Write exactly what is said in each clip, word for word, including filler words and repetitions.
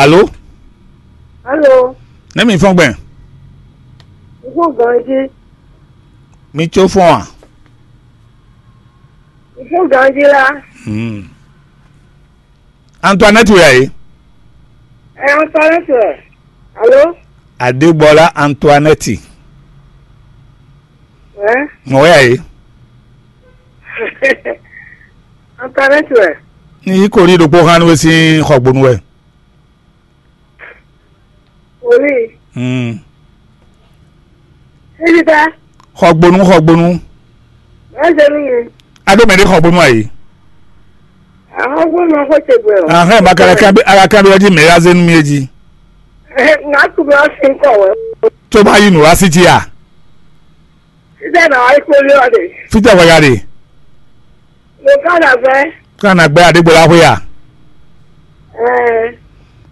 Alo? Alo? Nɛ́ mi fɔ́n gbɛn? N fɔ́n ganjí. Mi có fɔ́n a? N fɔ́n ganjí lá. Hmm. Antoinette wɛ a yě? Ɛ Antoinette wɛ. Alo? Adégbɔlá Antoinette. Ɛ? Mɔ̌ wɛ a yě? Antoinette wɛ. Ní yí korí ɖokpó hán nú we sín xɔgbónú wɛ. Wòlíì. Hmm. Sísítá. Xɔgbónú, xɔgbónú. Ɛ ṣe nú mi. A ɖó mɛ ɖé xɔgbónú a yě? Ahɔ́gbónú xó ce gbɛ o. Ahɛn, ma ka ka bí, a ka bí ɔjí mɛ ya zé nú mi é jí. Ŋà tu mi wá sí kɔ wɛ. Tó bá yí nǔ wá sí jí a? Sísítá nà wá ikú lé ɔ de. Fítɛ wɛ ya ɖe? Mo ká nà gbɛ. Ká nà gbɛ Adégbɔlá xwé a? Ɛɛ.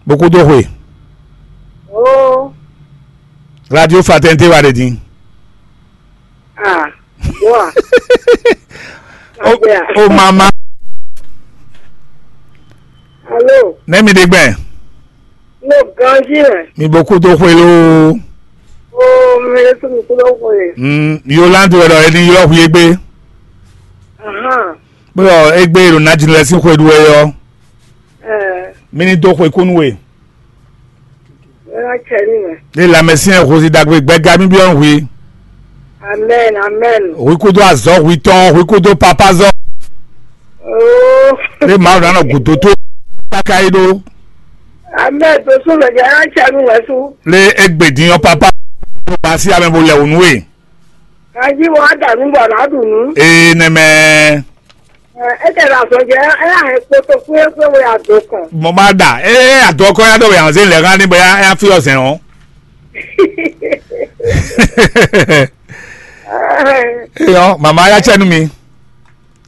Bó kú dó xwe. Oo. Radio Fraternité wa ɖe din. Ah, boa. O, o mama. Alo. Nɛ́ mi ɖe gbɛn? Mo ganjí wɛ. Mi bó kú dó xwe lóó. Oo, mi ɖe tún mi kú dó xwe. Mm, Yolande wɛ ɖɔ é ní ylɔ́ xwi égbé. Ahan. Bó ɖɔ égbé e ɖo Najinu lɛ́ɛ sín xwe ɖu wɛ ɔ́, ɛɛ. Mi ní dó xwe kú nú we. Wɛn wá cɛ ní mɛ. Ní lamɛsyɛn hwesi ɖagbe gbɛga mì byɔ́ nú hwi. Amen, amen. Hwi kúdó azɔ̌ hwi tɔn, hwi kúdó papázɔ́. Oo. Ní Mawu ná nɔ gǔdo tó káká yi ɖó. Amen, tó sún mɛ jɛ wɛn wá cɛ ní mɛ sú. Lé égbè din ɔ́ papá. Bó ba sí amɛ bó lɛ wǔ nú we. Ají wɔ á dà nú bɔ nǎ ɖu nǔ. Ee nɛmɛ. Ɛ, é tɛ ɖo azɔn jɛ, é ná hɛn kpoto kúyékúyé wɛ adɔ kɔn. Mo máa dà, ée adɔ kɔ ya ɖo yàn zé lɛ hã ní bɔ ya ya fi ɔzɛn ɔ. Eyɔ, mama ya cɛ nú mi.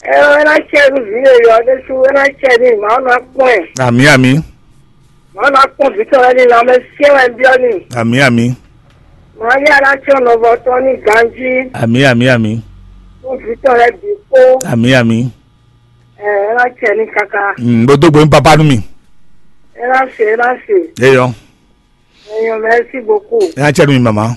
Ɛ, é ná cɛ nú vǐ yeyɔ ɖé sú, é ná cɛ nú màá nɔ kpɔn ɛ. Àmì àmì. Màá nɔ kpɔn vǐ tɔn wɛ ní lanmɛ syɛ́n wɛ byɔ́ ní. Àmì àmì. Màá yá ná cɔ nɔvɔ tɔn ní ganjí. Àmì àmì àmì. Kpɔn vǐ tɔn lɛ bǐ kpó. Àmì àmì. Ɛ, é ná cɛ ní káká. Mm, bó dó gbe ní papá nú mi. É ná se, é ná se. Eyɔ. Eyɔ, merci beaucoup. É ná cɛ nú mi mama.